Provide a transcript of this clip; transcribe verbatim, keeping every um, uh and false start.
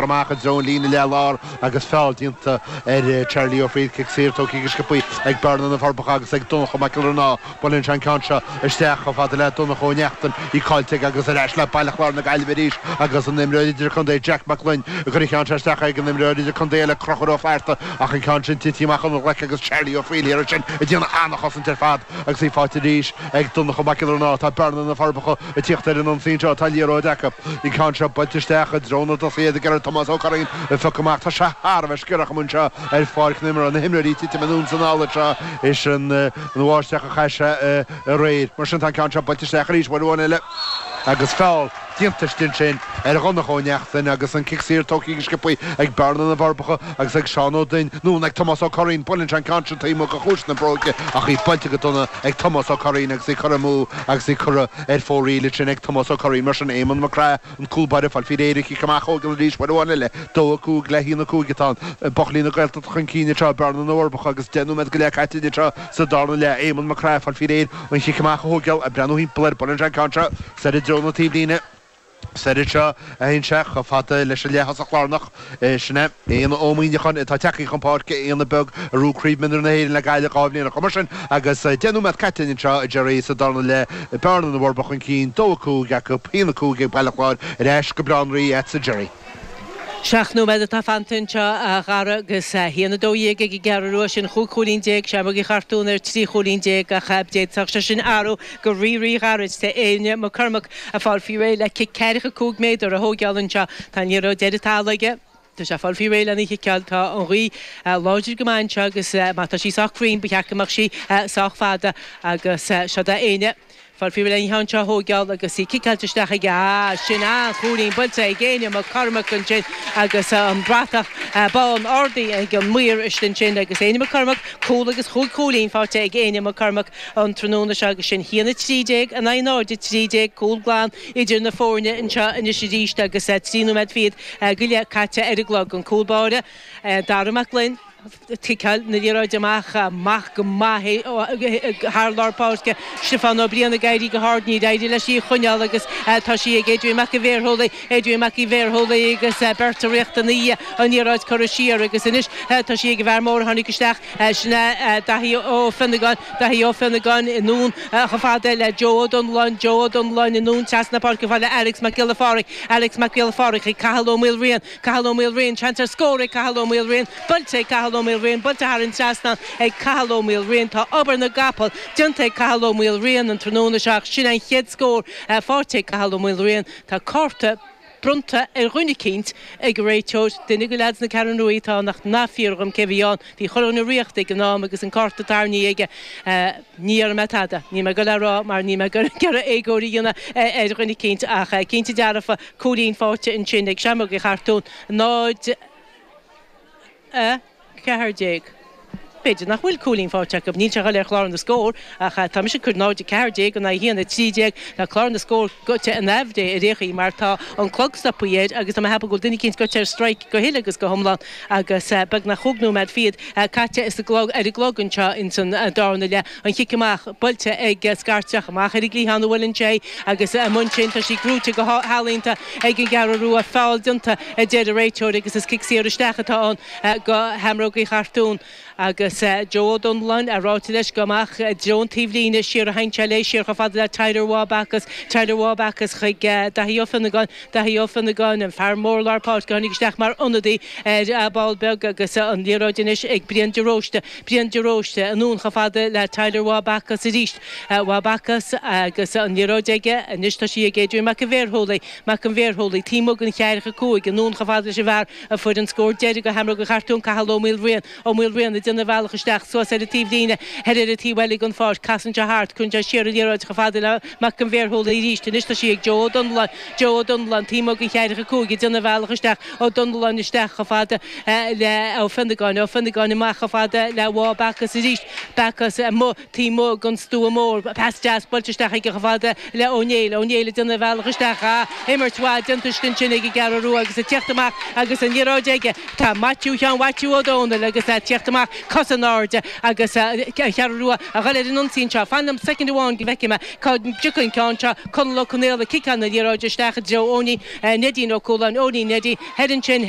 Amach i dtreo an líne leath-lár agus feall déanta ar Charlie Ó Frighil. Cic saor tógtha go sciobtha ag Bearna na Forbacha agus ag Donncha Mac Giollarnáth. Buaileann sé an ceann seo isteach chomh fada le Donncha Ó Neachtain, í caillte aige agus ar ais le Baile Chláir na Gaillimhe arís agus an imreoir idirchontae Jack Mac Gloinn ag cur an cheann seo isteach ag an imreoir idirchontae eile Conchúr Ó Flatharta ach an ceann sin tite amach óna ghlaic agus Charlie Ó Frighil thiar ansin ag déanamh an-chosaint ar fad agus í faighte arís ag Donncha Mac Giollarnáth. Tá Bearna na Forbacha ag tíocht ar an ionsaí anseo, tá liathróid acu. An ceann seo buailte isteach i dtreo na dtosaithe ag iarraidh Tomás Ó Curraoin a phiocadh amach. Tá sé thar a bheith sciorrach amuigh anseo ar pháirc na himeartha. Na himreoirí ag titim anonn is anall anseo is an bháisteach a chaith sé aréir. Mar sin tá an ceann seo buailte isteach arís uair amháin eile agus feall déanta istigh ansin ar Dhonncha Ó Neachtain agus an cic saor tógtha go sciobtha ag Bearna na bhForbacha agus ag Seán Ó Duinn nó ag Tomás Ó Curraoin. Buaileann sé an ceann sin taobh amuigh de chluais na bróige ach í buailte go dona ag Tomás Ó Curraoin agus í curtha amú agus í curtha ar fóraoil ansin ag Tomás Ó Curraoin. Mar sin Éamonn Mac Craith, an cúl báire, fáil faoi réir an cic amach a thógáil arís uair amháin eile. Dó a cúig le haon a cúig atá ann. Buachaillí na Gaeltachta chun cinn anseo, Bearna na bhForbacha agus deich nóiméad go leith caite anseo sa darna leath. Éamonn Mac Craith, fáil faoi réir an chic amach a thógáil, ag breathnú thimpeall air, buaileann sé an ceann seo soir i dtreo na taobhlíne. Soir anseo a théann sé chomh fada leis an leath-thosach lárnach. Sin é Éanna Ó Muimhneacháin atá tagtha chun páirce, Éanna beag a ghnóthaigh Craobh Mionúir na hÉireann le Gaillimh dhá bhliain ó shin. Mar sin, agus deich nóiméad caite anseo a Gerry sa darna leath, Bearna na bhForbacha chun cinn, dó a cúig acu, haon a cúig ag Baile Chláir, ar ais go Baile Átha an Rí agatsa Gerry. Seacht nóiméad atá fanta anseo a Dhara agus a haon a dó dhéag ag an gCeathrú Rua, sin chúig chúilín déag, Seamróg Uí Chartúin ar trí chúilín déag ach d'fhéadfadh sé sin athrú go rí-rí-ghairid. Tá Éanna McCormack ag fáil faoi réir le cic ceathracha cúig méadar a thógáil anseo. Tá an liathróid ar an talamh aige. Tá sé ag fáil faoi réir lena chiceáil. Tá an ghaoth láidir go maith anseo agus má tá sí sách cruinn ba cheart go mbeadh sí sách fada agus seo do Éanna. Fáil faoi réir lena cheann seo a thógáil agus í ciceáilte isteach aige. Ah, sin an-chúilín buailte ag Éanna McCormack ansin agus an bratach bán ardaithe ag an maor istigh ansin agus Éanna McCormack, cúl agus chúig chúilín faighte ag Éanna McCormack an tráthnóna seo agus sin haon a trí déag in aghaidh náid a trí déag, cúl glan idir na foirne anseo anois arís agus trí nóiméad fichead go leith caite ar an gclog. An cúl báire, Dara Mac Gloinn. Ciceáil na liathróide amach, amach go maith thar lár páirce. Stiofán Ó Briain ag éirí go hard, níor éirigh leis í a choinneáil agus tá sí ag Adrian Mac an Bhéarshúiligh, Adrian Mac Uí Bhéarshúiligh agus beirt ag rith ina dhiaidh, an liathróid curtha siar agus anois tá sí ag an bhfear mór a tháinig isteach, sin é Daithí Ó Fionnagáin, Daithí Ó Fionnagáin anonn chomh fada le Joe Ó Donnalláin, Joe Ó Donnalláin anonn trasna páirce chomh fada le Alex Mac Giolla Phádraig, Alex Mac Giolla Phádraig chuig Cathal Ó Maoilriain, Cathal Ó Maoilriain, seans ar scór ag Cathal Ó Maoilriain, buailte ag Cathal Ó Maoilriain, buailte thar an trasnán ag Cathal Ó Maoilriain. Tá obair na gcapall déanta ag Cathal Ó Maoilriain an tráthnóna seo ach sin an chéad scór faighte ag Cathal Ó Maoilriain. Tá cárta bronnta ar dhuine eicínt ag an réiteoir, duine de leaids na Ceathrún Rua atá ann ach ná fiafraigh dhíom cé bhí ann. Bhí chuile dhuine riachta ag an am agus an cárta tarraingthe aige. Ní déarfaidh mé tada, níl mé ag dul a rá mar níl mé ag iarraidh éagóir a dhéanamh ar dhuine eicínt ach cinnte dearfa cúilín faighte ansin ag Seamróg Uí Chartúin. náid a ceathair déag. B'fhéidir nach bhfuil cúilín faighte acu, níl sé ag dul ar chlár na scór ach tá mise ag cur náid a ceathair déag in aghaidh a haon a trí déag. Tá clár na scór goite in aimhréidh ar aon chaoi mar tá an clog stoptha air agus tá mé ag ceapadh go bhfuil duine eicínt goite ar strike go huile agus go hiomlán agus beagnach chúig nóiméad fichead caite ar an gclog anseo ins an darna leath. An chic amach buailte ag Scairteach amach ar an gcliathán a bhuaileann sé agus amuigh ansin tá sí gnóite go healaíonta ag an gCeathrú Rua. Feall déanta a deir an réiteoir agus is cic saor isteach atá ann go Sheamróga Uí Chartúin agus Joe Ó Donnalláin ag ráite leis go amach i dtreo an taobhlíne siar a théann sé léi siar chomh fada le Tyler Waugh Bacchus, Tyler Waugh Bacchus chuig Daithí Ó Fionnagáin, Daithí Ó Fionnagáin, an fear mór lár páirce a tháinig isteach mar ionadaí ar ball beag agus an liathróid anois ag Brian de Róiste, Brian de Róiste anonn chomh fada le Tyler Waugh Bacchus arís, Waugh Bacchus agus an liathróid aige anois tá sí ag Adrian Mac an Bhéarshúiligh, Mac an Bhéarshúiligh, taobh amuigh den cheathracha cúig, anonn chomh fada leis an bhfear a fuair an scór deiridh do Sheamróga Uí Chartúin, Cathal Ó Maoilriain, Ó Maoilriain ag déanamh a bhealach isteach suas ar an taobhlíne thoir ar an taobh eile den pháirc. Casann sé thart, cuireann sé siar an liathróid chomh fada le Mac an Bhéarshúiligh arís. Anois tá sí ag Joe Ó Donnalláin, Joe Ó Donnalláin, taobh amuigh den cheathracha cúig ag déanamh a bhealach isteach. Ó Donnalláin isteach chomh fada le Ó Fionnagáin, Ó Fionnagáin amach chomh fada le Waugh Bacchus arís. Bacchus amuigh taobh amuigh den stua mór. Pas deas buailte isteach aige chomh fada le Ó Néill. Ó Néill ag déanamh a bhealach isteach. Ah, imirt mhaith déanta istigh ansin ag an gCeathrú Rua agus ag teacht amach agus an liathróid aige tá Maitiú Sheáin Mhaitiú Ó Dónaill agus ag teacht amach. cos in airde agus an Cheathrú Rua a dhul ar an ionsaí seo. Fan liom soicind amháin go bhfeicfidh mé cá dtiocfaidh an ceann seo Conall Ó Conaola ciceáil na liathróide isteach i dtreo Eoiní Neidín Ó Cualáin Eoiní Neidí thoir ansin